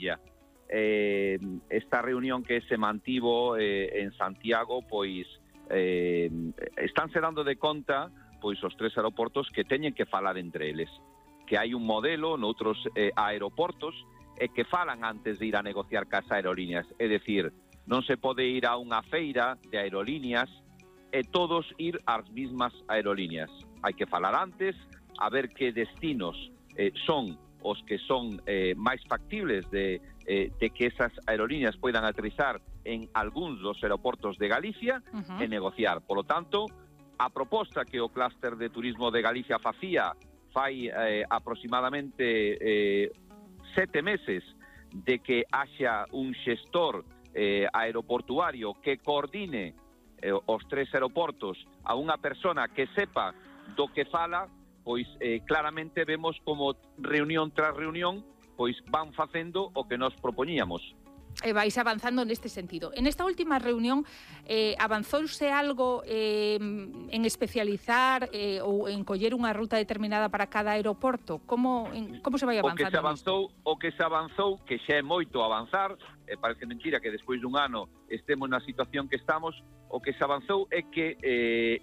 Illa. Esta reunión que se mantivo en Santiago, pois estánse dando de conta pois os tres aeroportos que teñen que falar entre eles, que hai un modelo noutros aeroportos e que falan antes de ir a negociar cas aerolíneas, é dicir, non se pode ir a unha feira de aerolíneas e todos ir ás mismas aerolíneas, hai que falar antes, a ver que destinos son os que son máis factibles de que esas aerolíneas poidan aterrizar en algúns dos aeroportos de Galicia e negociar. Por lo tanto, a proposta que o clúster de turismo de Galicia fai aproximadamente 7 meses de que haxa un xestor aeroportuario que coordine os tres aeroportos a unha persona que sepa do que fala, pois claramente vemos como reunión tras reunión pois van facendo o que nos propoñíamos. Vais avanzando neste sentido. En esta última reunión avanzouse algo en especializar ou en coller unha ruta determinada para cada aeroporto? Como se vai avanzando? O que se avanzou, que xa é moito avanzar, parece mentira que despois dun ano estemos na situación que estamos, o que se avanzou é que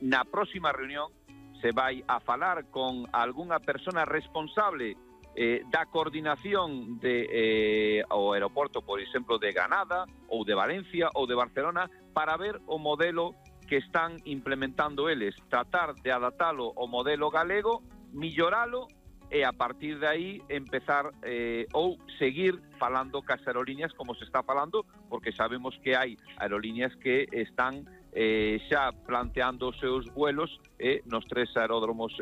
na próxima reunión se vai a falar con algunha persona responsable da coordinación ao aeroporto, por exemplo, de Granada ou de Valencia ou de Barcelona, para ver o modelo que están implementando eles, tratar de adaptalo ao modelo galego, milloralo e a partir de aí empezar ou seguir falando cas aerolíneas como se está falando, porque sabemos que hai aerolíneas que están xa planteando os seus vuelos nos tres aeródromos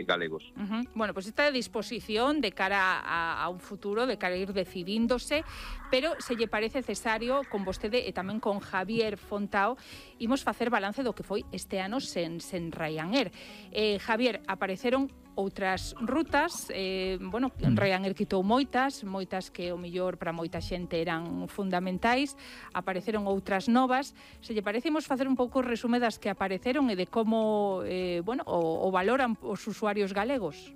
galegos. Bueno, pues está a disposición de cara a un futuro, de cara a ir decidíndose, pero se lle parece necesario con vostede e tamén con Javier Fontao imos facer balance do que foi este ano sen Ryanair. Javier, apareceron outras rutas, Ryanair quitou moitas que o mellor para moita xente eran fundamentais, apareceron outras novas. Se lle parece, imos facer un pouco o resume das que apareceron e de como o valoran os usuarios galegos.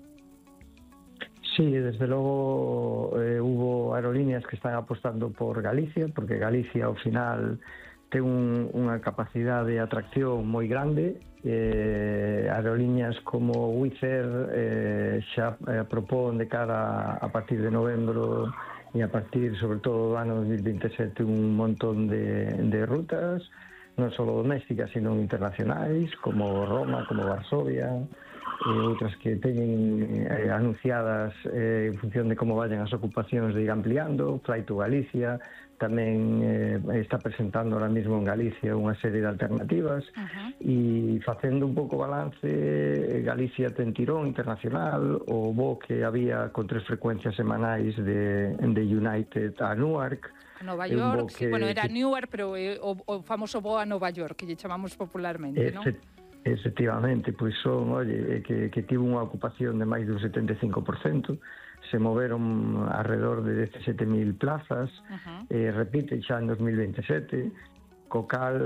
Sí, desde logo hubo aerolíneas que están apostando por Galicia, porque Galicia ao final ten unha capacidade de atracción moi grande. Aerolíneas como Wizz Air xa propón de cara a partir de novembro e a partir, sobre todo, do ano 2027 un montón de rutas, non só domésticas, sino internacionais, como Roma, como Varsovia, outras que teñen anunciadas en función de como vayan as ocupacións de ir ampliando. Flight to Galicia tamén está presentando ahora mismo en Galicia unha serie de alternativas e facendo un pouco balance, Galicia ten tirón internacional, o voo que había con 3 frecuencias semanais de United a Newark, a Nova York, era Newark, pero o famoso voo a Nova York, que lle chamamos popularmente, non? Efectivamente, pois son, que tivo unha ocupación de máis dun 75%, se moveron alrededor de 17.000 plazas, repite xa en 2027, co cal,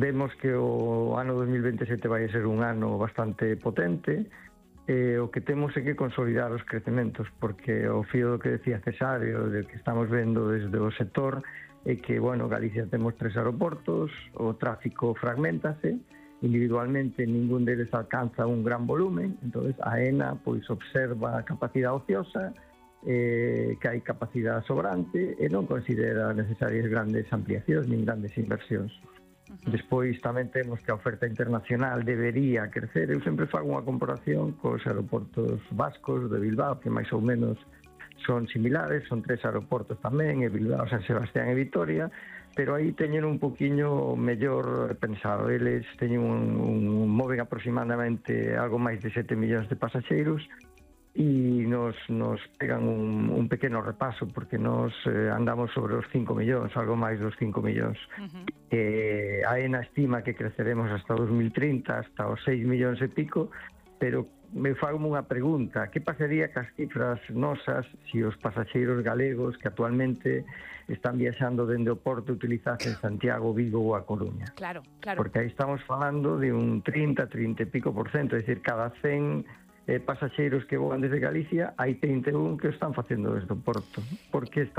vemos que o ano 2027 vai ser un ano bastante potente. O que temos é que consolidar os crecementos, porque o fío do que decía Cesario, de que estamos vendo desde o sector, é que, Galicia temos 3 aeroportos, o tráfico fragmentase, individualmente ningún deles alcanza un gran volumen, entonces a AENA observa a capacidade ociosa, que hai capacidade sobrante e non considera necesarias grandes ampliacións nin grandes inversións. Despois tamén temos que a oferta internacional debería crecer. Eu sempre fago unha comparación cos aeroportos vascos de Bilbao, que máis ou menos son similares, son 3 aeroportos tamén, e Bilbao, San Sebastián e Vitoria, pero aí teñen un poquinho mellor pensado. Eles teñen moven aproximadamente algo máis de 7 millóns de pasaxeiros e nos pegan un pequeno repaso, porque nos andamos sobre os 5 millóns, algo máis dos 5 millóns. A AENA estima que creceremos hasta 2030, hasta os 6 millóns e pico, pero me fago unha pregunta: que pasaría cas cifras nosas se os pasaxeiros galegos que actualmente están viaxando dende o Porto utilizasen Santiago, Vigo ou A Coruña? Claro. Porque aí estamos falando de un 30 e pico por cento, é dicir, cada 100 pasaxeiros que voan desde Galicia, hai 31 que están facendo desde o Porto. Por que está